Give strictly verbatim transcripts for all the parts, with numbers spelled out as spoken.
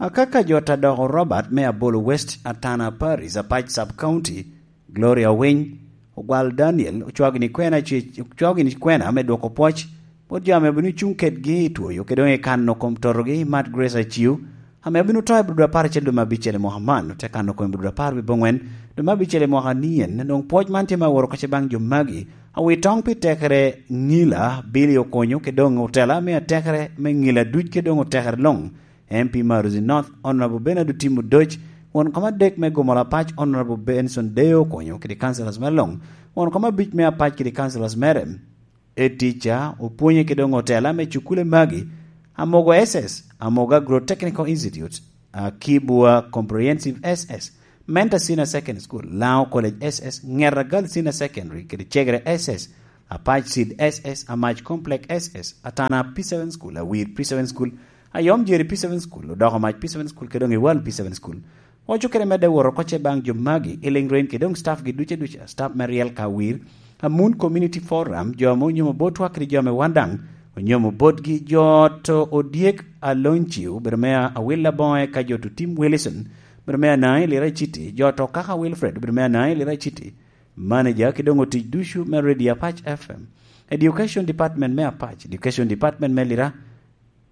Akaka jo ta doko Robert me Abolo West, Atana Paris, Apac Sub County, Gloria Winy, Ogwal Daniel, ocwao gini kwena, ce-, ocwao gini kwena me dwoko pwoc bot jo ame obino cuŋ kedgi i twoyo, kede doŋ i kano kom totogi, Mad Grace Aciu, ame obino to i Budo apar acel dwe me abicel i mwaka man, ote kano kom i Budo apar wiye abongwen dwe me abicel i mwaka nien. Doŋ pwoc man tye me aworo kacce baŋ jo magi, awi toŋ pi tekere Ngila, Billy Okonyo, kede doŋ otela me atekere me Ngila duc, kede doŋ otekere luŋ, M P Maruzi North, Honorable Bernard Otim Odoc, won kom adek me Gomola Apac, Honorable Benson Deo Okonyo, kede councillors mere luŋ, won kom abic me Apac kede councillors mere, e tica, opwonye kede doŋ otela me cukule magi, Amogo S S, Amogo Agro Technical Institute, Akibwa Comprehensive S S, Mentor Senior Secondary School, Lango College S S, Ngeta Girls Senior Secondary, kede Cegere S S, Apac Seed S S, Amac Complex S S, Atana P seven School, Awir P seven School, Ayom Jeri P seven School, Odoko Mac P seven School, kede doŋ Iwal P seven School. Oco kede medde woro kocce baŋ jo magi, i Lingrin kede doŋ staff gi duce duca, staff me Riel ka Awir, Amun Community Forum, jo ame onyomo botwa kede jo ame wan daŋ onyomo botgi, jo to Odyek Alonci, obedo me Awil Aboŋo, eka jo to Tim Wilson, obedo me Anai Lira City, jo to Kaka Wilfred, obedo me Anai Lira City, manager, kede doŋ otic ducu me Radio Apac F M, Education Department me Apac, Education Department me Lira,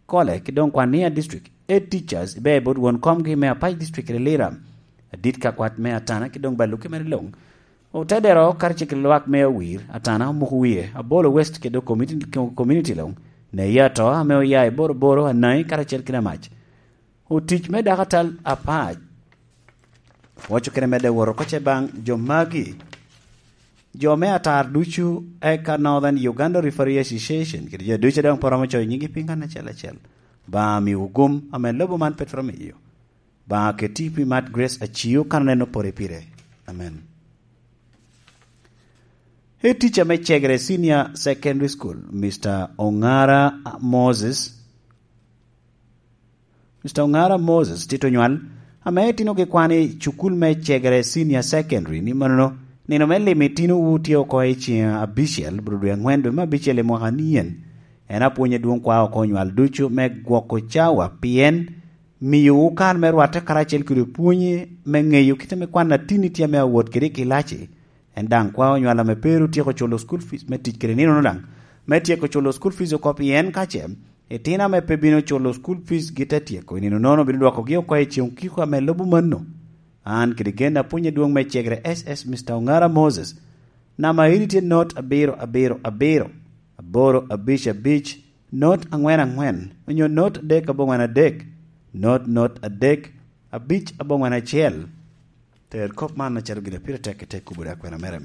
Kole, kede doŋ Kwania District, Head Teachers, ibe bot won komgi me Apac District kede Lira, adit ka kwat me Atana, kede doŋ Baluki mere luŋ. Otedero karacel kede lwak me Awir, Atana, Omuko Wie, Abolo West, kede doŋ community, community luŋ, Neyato, ame oya i Boroboro, Anai, karacel kede Amac. Otic me dako atal Apac, oco kede medde woro kocce baŋ jo magi, jo me atar ducu, eka Northern Uganda Referee Association, kede jo ducu a doŋ pe romo coyo nyigi piny kan acel acel. Obaŋa miwu gum, ame lobo man pe twero miyo. Obaŋa keti pi Mad Grace Aciu kan oneno pore pire. Amen. Head teacher me Cegere Senior Secondary School, Mister Ongara Moses, Mister Ongara Moses Tito Nywal, ame itino gi kwan i cukul me Cegere Senior Secondary, ni manono, nino me limo itinowu tye oko i ceŋ abicel, bro dwe angwen dwe me abicel i mwaka nien. En apwony adwoŋ kwa oko nywal ducu me gwoko cawa, pien miyowu kare me rwatte karacel kede pwonye me ŋeyo kite me kwan atinni tye ame awot kede i kilaci. En daŋ kwao nywal ame pe ru tyeko culo school fees me tic kede ninono daŋ, me tyeko culo school fees oko, pien ka ce itino ame pe bino culo school fees gi te tyeko, i nino nono bino dwokogi oko i ceŋ okiko ame lubo mano. An kede gen apwony adwoŋ me Cegere S S Mister Ongara Moses, namba iri tye not abiro abiro abiro, aboro abic abic, not angwen angwen, onyo not adek abongwen adek, not not adek, abic abongwen acel. Ter kop man acalo gin a pire tek i te kubo dok kwena mere.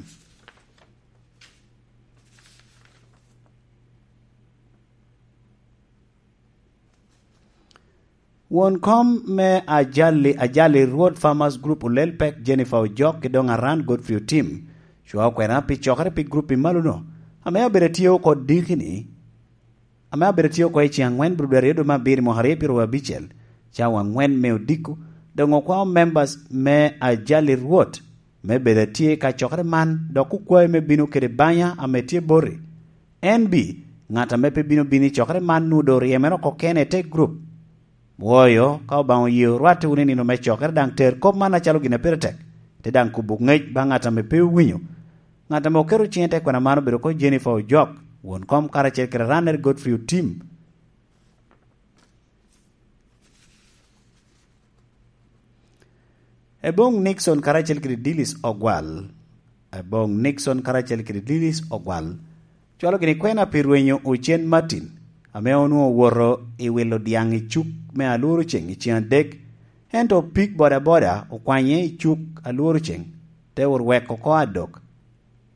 Won kom me Ajali, Ajali Rwot Farmers Group olel pek Jennifer Ojok ki doŋ Aran Godfrey Otim, cwa okwena pi cokere pi grup i malo-no, ame abedo atye oko diki-ni, ame abedo atye oko i ceŋ angwen bro dwe aryo dwe me abiro mwaka aryo pyeraryo abicel, cawa angwen me odiko, doŋ okwao members me Ajali Rwot me bedo atye ka cokere man, dok okwae me bino kede banya ame tye boti. En bi, ŋat ame pe bino bino i cokere man nwoŋo doŋ ryemere oko kene i te grup. Woyo, ka Obaŋa oye orwatte wunu i nino me cokere, daŋ ter kop man acalo gin a pire tek, te daŋ kubo ŋec baŋ ŋat ame pe owinyo. Ŋat ame oketo ciŋe i te kwena man obedo oko Jennifer Ojok, won kom karacel kede Ranner Godfrey Otim. Eboŋ Nixon karacel kede Dilis Ogwal. Eboŋ Nixon karacel kede Dilis Ogwal. Cwalo gini kwena pi rwenyo Ocen Martin, ame onwoŋo owoto i wilo dyaŋ i cuk me alworo ceŋ i ceŋ adek, ento pig bodaboda okwanye i cuk alworo ceŋ, te orweko oko adok.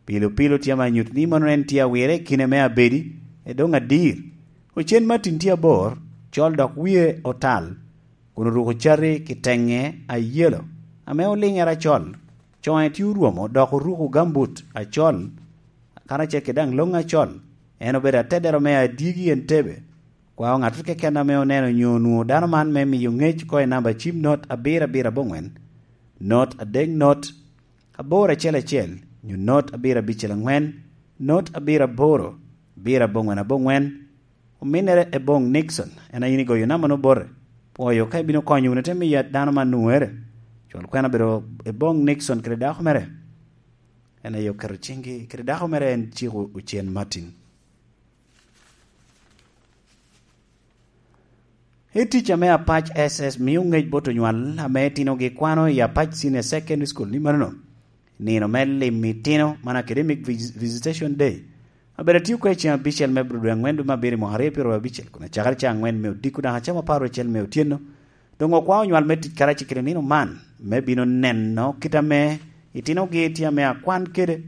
Pilo pilo tye ame anyuto ni mano en tye awire i kine me abedi, e doŋ adir. Ocen Martin tye abor, col dok wie otal, kun oruko cati kiteŋe ayelo, ame oliŋere acol. Coŋe tye orwomo dok oruko gambut acol, karacel kede daŋ loŋ acol. En obedo atedero me adyegi Entebbe. Kwao ŋattoro keken ame oneno nyo onwoŋo dano man me miyo ŋec oko i namba cim not abiro abiro abongwen, not adek not, aboro acel acel, nyo not abiro abicel angwen, not abiro aboro, abiro abongwen abongwen, ominnere Eboŋ Nixon, en a in igoyo namba-nu bote. Pwoyo ka ibino konyo wunu te miyo dano man nwoŋere. Cwal kwena obedo i boŋ Nixon kede dako mere. En aye oketo ciŋgi kede dako mere, en ciko Ocen Martin. I tic ame Apac S S mio ŋec bot onywal ame itinogi kwano i Apac Senior Secondary School ni manono, nino me limo itino, man academic vis- visitation day, abedo atio kede ceŋ abicel me Abril dwe aŋwen dwe me abiro i mwaka aryo pyeraryo abicel, kun acakere ceŋ aŋwen me odiko dok acamo apar ocel me otyeno. Doŋ okwao onywal me tic karacel kede nino man, me bino neno kit ame itinogi tye ame akwan kede.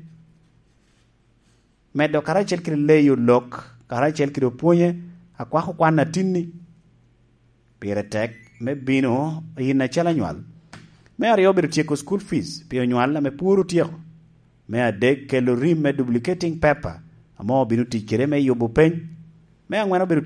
Medo karacel kede leyo lok, karacel kede opwonye, akwako kwan atinni. Pire tek me bino yin acalo anywal. Me aryo obedo tyeko school fees pi onywal ame pwod otyeko. Me adek kelo rim me duplicating paper ame obino tic kede me yubo peny. Me aŋwen obedo